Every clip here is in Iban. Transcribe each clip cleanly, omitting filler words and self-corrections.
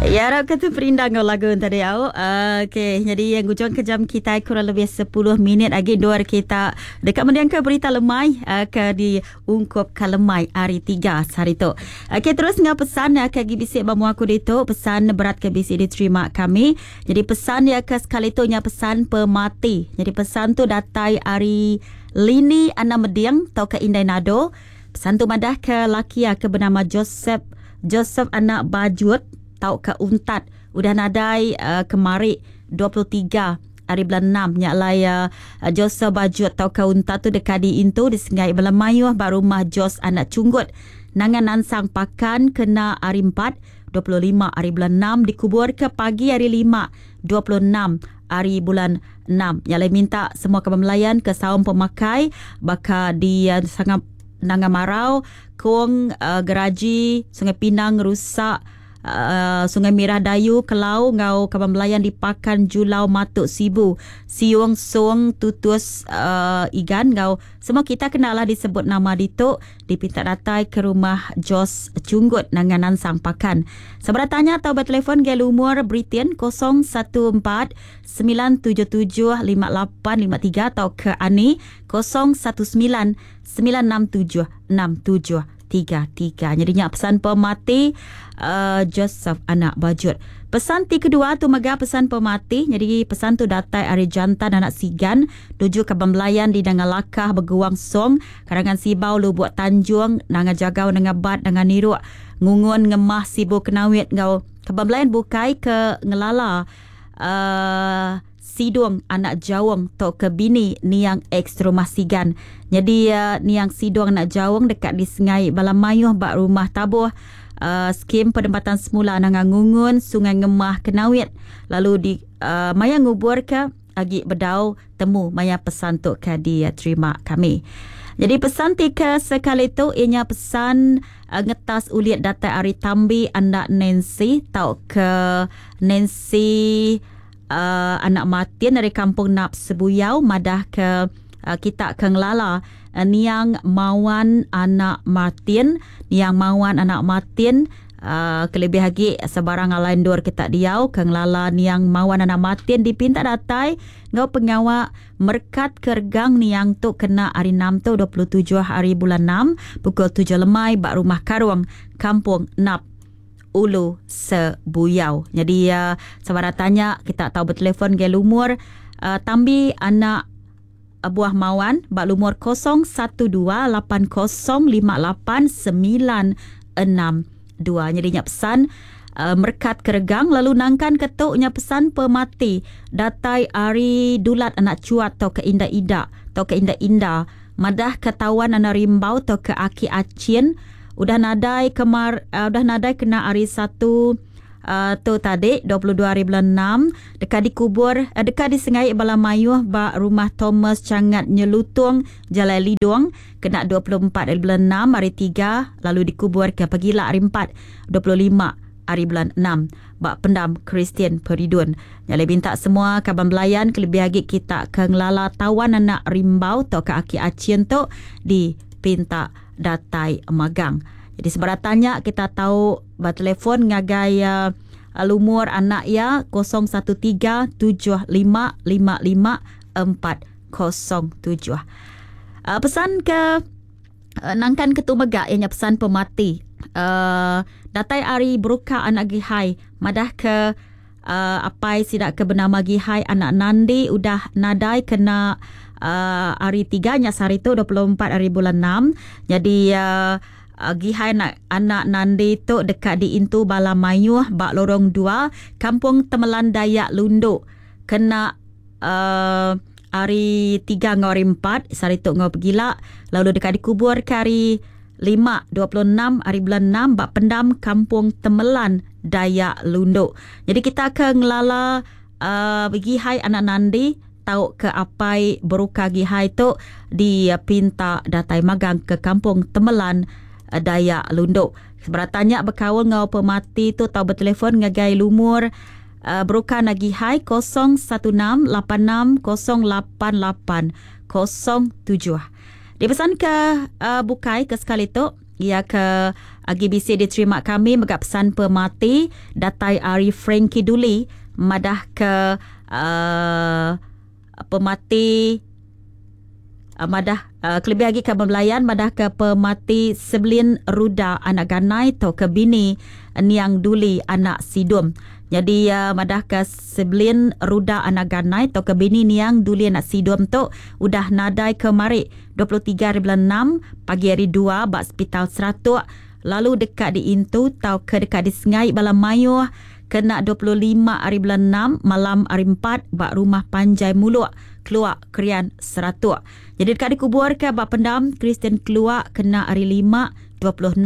Ya arap ke tu perindang ngau lagu tadi au. Okey, jadi yang ngujung ke jam kita kurang lebih 10 minit agi dua kita deka mendiang ke berita lemai ke di ungkup ke lemai hari 3 sehari tu. Okey, terus ngau pesan ke agi bisi ba mua aku ditu, pesan berat ke bisi diterima kami. Jadi pesan ya ke sekali tu nya pesan pemati. Jadi pesan tu datai ari Lini Ana Meding tau ke Indai Nado. Pesan tu madah ke laki ke bernama Joseph Joseph anak Bajut tau ke Untat udah nadai kemari 23 hari bulan 6 nya alai Joseph Bajut tau ke Untat tu dekat di intu di Sengai Bala Mayuh ba rumah Jos anak Cunggut nangan nansang pakan kena hari 4 25 hari bulan 6 dikubur ke pagi hari 5 26 hari bulan 6. Nya alai minta semua kaban melayan ke saum pemakai baka di sangat Nanga Marau, Kong, Geraji, Sungai Pinang, Rusak, Sungai Mirah Dayu, Kelau ngau kaban belayan di Pakan Julau Matuk Sibu, Siung Song Tutus Igan ngau semua kita kenalah disebut nama ditu dipinta datai ke rumah Jos Cunggut Nanga Nansang Pakan. Sebarang tanya atau bertelefon gaya lumur Britain 014 977 5853 atau ke Ani 019 967 6733. Jadi nya pesan pemati Joseph anak Bajut. Pesan ti kedua tu mega pesan pemati. Jadi pesan tu datai ari Jantan anak Sigan tuju ke Bembelayan di Nanga Lakah Beguang Song, Karangan Sibau Lubuk Tanjung, Nanga Jagau Nanga Bat Nanga Niruk, Ngungun Ngemah Sibu Kenawit ngau Kebembelayan bukai ke ngelala Sidung anak Jaung tu ke bini niang ex rumah Sigan. Jadi niang Sidung anak Jaung dekat di Sengai bala mayuh ba rumah tabuh skim penempatan semula Nanga Ngungun Sungai Ngemah Kenawit lalu di maya ngubur ke agi bedau temu maya pesan tu ke diterima kami. Jadi pesan ti ke sekali tu ianya pesan ngetas ulit datai ari Tambi anak Nancy tau ke Nancy anak Martin dari Kampung Nap Sebuyau madah ke kita ke ngelala niang Mawan anak Martin, niang Mawan anak Martin kelebih agi sebarang alai endur kita diau ke ngelala niang Mawan anak Martin dipinta datai ngau pengawa merkat ke regang niang tu kena hari 6 tu 27 hari bulan 6 pukul 7 lemai ba rumah Karung Kampung Nap Ulu Sebuyau. Jadi sebarang tanya kita tahu bertelefon ke lumur Tambi anak buah Mawan ba lumur 0128058962. Jadi nya pesan merkat keregang lalu nangkan ketuknya pesan pemati datai ari Dulat anak Cuat atau ke Inda Ida atau ke Inda Inda madah ketawan anak Rimbau atau ke Aki Acin udah nadai kemar udah nadai kena hari 1 tu tadi 22 hari bulan 6 dekat dikubur dekat disengai bala mayuh ba rumah Thomas Changat Nyelutung Jalai Lidong kena 24 hari bulan 6 hari 3 lalu dikubur ke pagila hari 4 25 hari bulan 6 ba pendam Kristian Peridun. Nyalai minta semua kaban belayan kelebih agi kita ke ngelala tawan anak Rimbau atau ke Aki Acin tu dipinta datai magang. Jadi sebarang tanya kita tahu ba telefon ngagai lumur anak ya 013 75 55 407. Pesan ke nangkan ketu mega ianya pesan pemati. Datai ari Beruka anak Gihai madah ke apai sidak ke bernama Gihai anak Nandi udah nadai kena hari 3 nya sehari tu 24 hari bulan 6. Jadi Gihai anak Nandi tu dekat diintu bala mayuh ba lorong 2 Kampung Temelan Dayak Lundu kena hari 3 ngau hari 4 sehari tu ngau pegila lalu dekat dikubur ke hari 5 26 hari bulan 6 ba pendam Kampung Temelan Dayak Lundu. Jadi kita ke ngelala Gihai anak Nandi tau ke apai Beruka Gihai tu dipinta datai magang ke Kampung Temelan Dayak Lundu. Sebarang tanya berkaul ngau pemati tu tau bertelefon ngagai lumur Beruka Nagihai 016 86 088 07. Dipesan ke bukai ke sekali tu ia ke Agi bisi diterima kami mega pesan pemati datai ari Frankie Duli madah ke uh, pemati uh, madah uh, kelebih agi ke belayan madah ke pemati Sebelin Ruda anak Ganai atau ke bini Niang Duli anak Sidum. Jadi uh, madah ke Sebelin Ruda anak Ganai atau ke bini Niang Duli anak Sidum tu udah nadai kemari 23 hari bulan 6 pagi hari 2 ba Hospital Seratuk lalu dekat diintu tau ke dekat disengai bala mayuh kena 25 hari bulan 6 malam hari 4 ba rumah Panjai Muluk Keluak Krian Seratuk. Jadi dekat dikubur ke ba pendam Kristian Keluak kena hari 5 26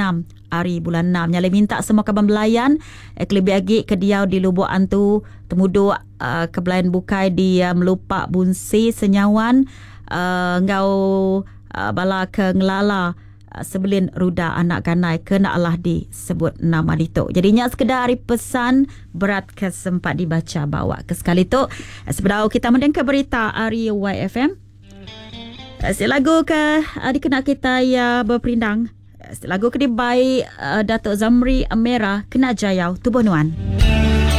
hari bulan 6. Nyale minta semua kaban belayan eh, kelebih lagi ke diau di Lubuk Antu temuduk uh, ke belayan bukai di uh, Melupak Bunsi Senyawan uh, ngau uh, bala ke ngelala Sebelin Ruda anak Ganai kena Allah disebut nama ditu. Jadi nya sekedar hari pesan berat ke sempat dibaca bawa ke sekali tu. Sebedau kita mendengar berita ari YFM. Si lagu ke dikena kita ya berperindang. Lagu ke dibai Datuk Zamri Amera kena jayau tubuh nuan.